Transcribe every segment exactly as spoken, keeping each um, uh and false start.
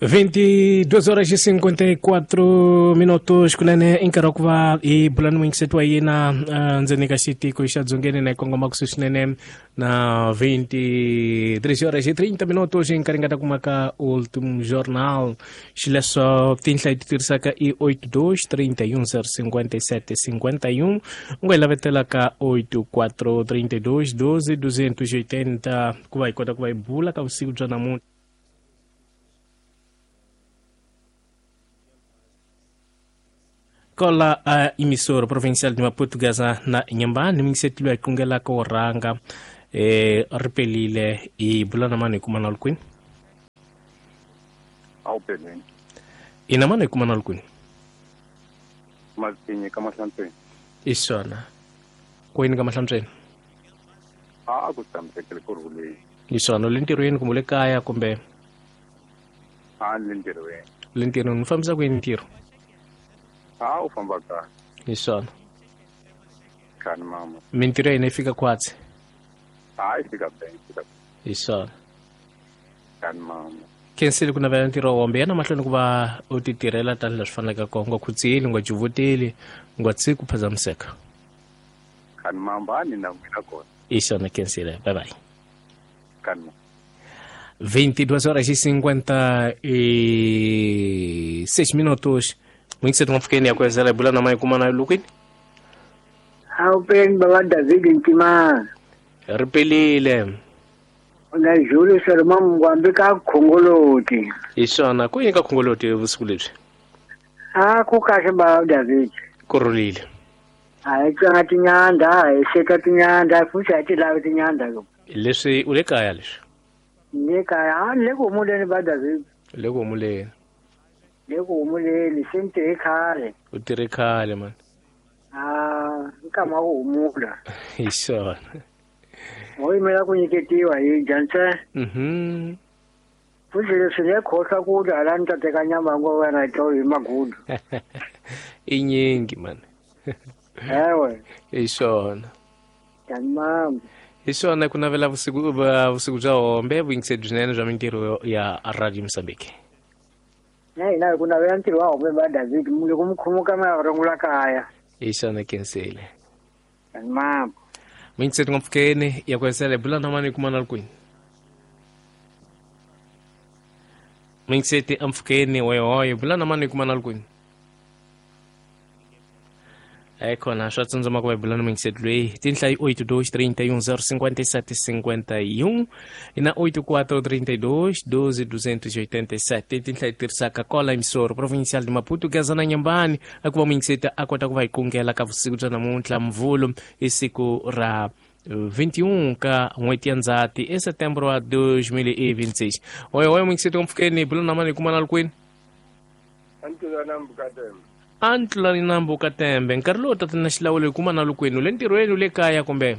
vinte e duas horas e cinquenta e quatro minutos kunene i nkarhi wa ku va hi bula ni muyingiseti wa yena uh, ndzeni ka xitiko xa Dzongeni na hi kongoma kusuhi swinene na vinte e três horas e trinta minutos, hi nkarhi nga ta kuma ka Ultimo Jornal. Xileswo tinhla hi ti tirhisaka i oito dois três um zero cinquenta e sete cinquenta e um, u nga hi lavetela ka oito quatro trinta e dois doze duzentos e oitenta ku va hi kota ku va hi bula ka vusiku bya namuntlha. Kola a emissora provincial de Maputo, Gaza na Inhambane, muyingiseti loyi hi kungelaka wo rhanga eh ri pelile. Hi bula na mani hi kuma na kwini? Awupeleni. Ina mani hi kuma na kwini? Mazinye ka Mahlantsweni. I swona, kwini ka Mahlantsweni? A ku tshamisekile, ku rhuleni. Hi swona, u le ntirhweni kumbe u le kaya kumbe? A ni le ntirhweni. U le ntirhweni, u fambisa kwini ntirho? A u famba kahle. Hi swona. Khani mama. Mintirho ya hina yi fika khwatsi. A yi fika be, fika. Hi swona. Khani mama. Khensile ku navela ntirho wombe yana mahlweni ku va u ti tirhela tanihi leswi faneleke kona, u nga khutseli, u nga juvuteli, u nga tshiki ku phazamiseka. Khani mama, a ni na n'wina kona. I swona, khensile, bye bye. Khani mama. vinte e duas horas e cinquenta e seis minutos. Muyingiseti n'wampfukeni ya kwezela, hi bula na mayi kuma na lukwini? Awupeni baba David Ntimana. Ri pelile. Na Julius Roma Mngwambi ka Khongoloti. Hi swona, ku yini ka Khongoloti vusiku lebyi? A ku kahle, baba David. Ku rhulile. A hi tswanga tinyanda, hi xeka tinyanda, futhi a hi ti lavi tinyanda lo. Leswi u le kaya leswi? Le kaya, a le ku humuleni, ba David. Le ku humuleni. Le ku humuleni, se ni tirhe khale. U tirhe khale mani. A nkama wa ku humula. Hi swona. Ho yimela ku nyiketiwa hi dya ntsena. Mhm. Futhi leswi le khohlwa ku dya hala ni ta teka nyama ya wena hi tolo hi magudu. I nyingi mani. Ewe. Hi swona. Tamam. Hi swona, ku navela vusiku va- vusiku bya hombe, vuyingiseri byinene bya mintirho ya Radio Mozambique. Na hina hi ku navela ntirho wa hombe, ba David, loko mi khumuka mi ya rungula kaya. Hi swona, khensile. Tamam. Muyingiseri n'wampfukeni ya kwesele, bula na mani kuma na kwini? Muyingiseti ampfukeni hoyohoyo, bula na mani kuma na kwini? Ai khona swa tsundzuma ku va hi bula na muyingiseti loyi. Tinhla i oito dois três um zero cinquenta e sete cinquenta e um e na oito quatro trinta e dois doze duzentos e oitenta e sete, tinhla hi tirhisaka kola emissora provincial de Maputo, Gaza na Inhambane, a ku va muyingiseti a kota ku va hi kungela ka vusiku bya namuntlha, Mvhulu, i siku ra vinte e um ka n'hweti ya Ndzhati e setembro wa dois mil e vinte e seis. Hoyohoyo, muyingiseti wa mpfukeni, bula na mani kuma na kwini? Antlula nambu ka Tembe. A ntlulani nambu ka Tembe, nkarhi lowu tatana xilawulo, hi kuma na lukwini? U le ntirhweni, u le kaya kumbe?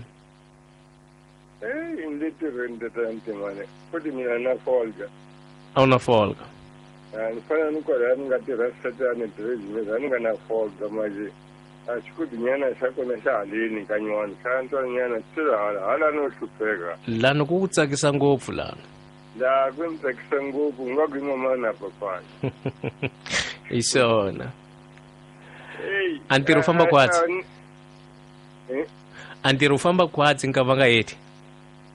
Eyi, ni le tirhweni, tatana Ntimane, futhi mina na folga. A wu na folga? Ni fanele ni kwala ni nga tirha satani business, a ni nga na folga manje a xikudinyana xa kona xa haleni ka nywana xa ntwanyana se hala hala no hlupheka. Lani ku ku tsakisa ngopfu lana? La ku ni tsakisa ngopfu, u nga ku i mama na papana. Hi swona. Eyi. A ntirho wu famba khwatsi? Eh? A ntirho wu famba khwatsi nka va nga heti?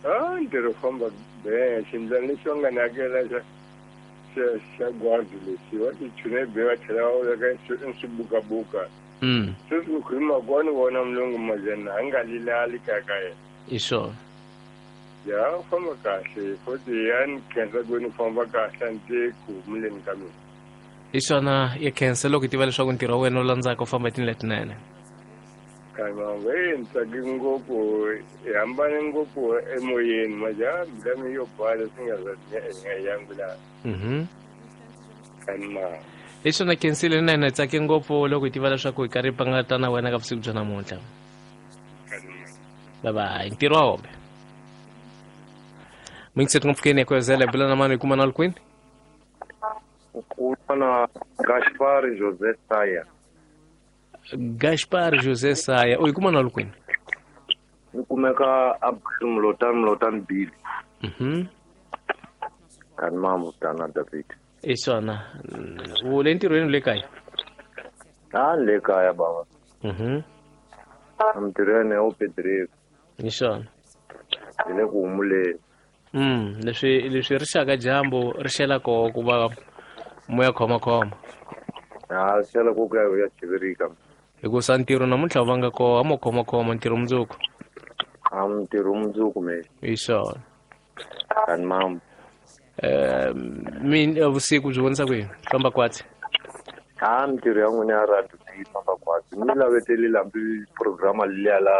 A ntirho wu famba be, xindlwana lexi va nga ni hakela xa xa xa gwadi lexi va ti chune be, va tlhela va veka swibukabuka. Mm sweswi ku hi mhaka ni vona mulungu majana a nga lilali kaya ka yena. Hi swona. Ya, u famba kahle futhi, ya ni khensa ku ni famba kahle, a ni te ku humuleni ka mina. Hi swona, ya khensa loko hi tiva leswaku ntirho wa wena wu landzaka u famba hi tindlela tinene. Kanambe ni tsake ngopfu, hi hambane ngopfu emoyeni manje, a mbilu yo bala swi nga za hi nga yangu laha. Mhm. Kanima. Hi swona, khensile nene, hi tsake ngopfu loko hi tiva leswaku hi karhi hi pangata na wena ka vusiku bya namuntlha. Kanima. Bye bye, ntirho wa hombe. Muyingiseti n'wampfukeni ya kwezela, hi bula na mani hi kuma na kwini? Ukubona Gaspar José Saya. Gaspar José Saya, u hi kuma na kwini? Ni kumeka a Mlotani, Mlotani Bill. Mhm. Kanimamo tana David. I swona. U le ntirhweni le kaya? A le kaya baba. Mhm. Ntirhweni o Pedro. I swona. Hi le ku humuleni. Mm, leswi leswi ri xaka dyambu ri xela koho ku va moya khoma khoma. A xela ku ya ya chivirika. Hikusa ntirho namuntlha va nga koho a mo khoma khoma ntirho mundzuku. A ntirho mundzuku me. I swona. Kan mam. Eh min vusiku byi vonisa ku yini? Famba kwatsi. A ntirho ya n'wina ya radio yi famba kwatsi. Ni lavetele lambi programa liya la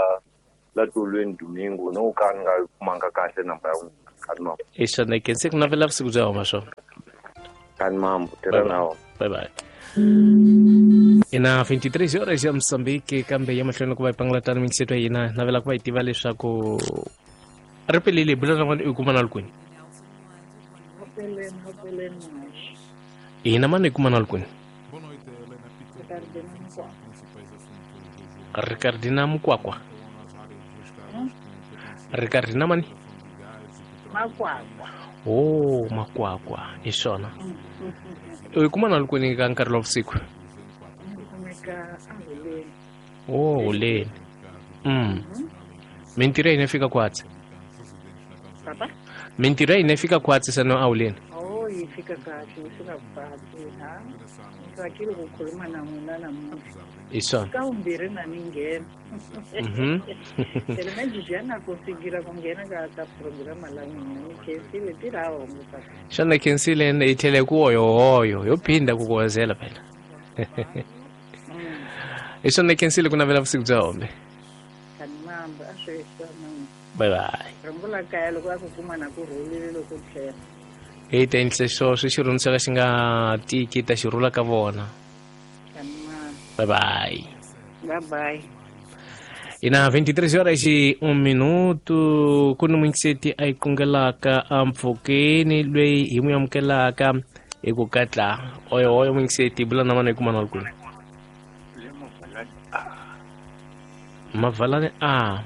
la tolweni domingo no ka ni nga kumanga kahle namba ya n'wina. Kan mam. I swona ke se ku navela vusiku bya homa swona. Kan mam, tirha na wona. Bye bye. Ina vinte e três horas ya Moçambique kambe ya mahlweni ku va hi pangalatana minkiseto ya hina navela ku va hi tiva leswaku ri pelele bula na n'wana i kuma na kwini. Hina mani i kuma na kwini. Ricardina Mukwakwa. Ricardina mani? Makwakwa. Oh, Makwakwa. I swona. U kuma na kwini ka nkarhi wa vusiku? Oh, huleni. Mm. Mintirho ya hina fika kwatsi. Papa? Mintirho ya hina fika kwatsi sano a huleni. Oh, yi fika kahle, yi fika kwatsi, ha? Ngitsakile ku khuluma na n'wina namuntlha. I swona. Ka vumbirhi na ni nghena. Mhm. Phela manje ja na kufikira ku nghena ka ka programa la n'wina ni khensile tirha hongo papa. Xana khensile hi tlhele ku hoyohoyo yo phinda ku kuwazela phela. I swona khensile ku navela vusiku bya hombe. Kan mambo a swi swona. Bye bye. Rungula kaya loko a ku kuma na ku rhulile loko tlhela. Hi ta endlisa xo swi xirhundzu xa ka xi nga tiki ta xi rhula ka vona. Kan mambo. Bye bye. Bye bye. Ina vinte e três horas e um minuto ku ni muingiseti a yi kungelaka ampfhukeni loyi hi n'wi amukelaka hi ku katla oyo oyo muingiseti bula na mana hi kuma na kwini. Mavalani a.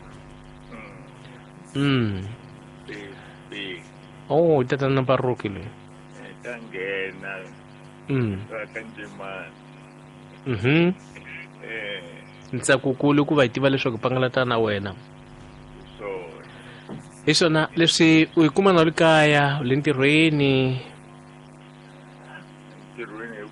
Mm. B. Oh, tatana Baruki loyi. Ta nghena. Mm. Ka Njimani. Mhm. Eh. Ntsakukulu ku va hi tiva leswaku pangalata na wena. So. Hi swona leswi u yi kuma na le kaya, le ntirhweni. Ntirhweni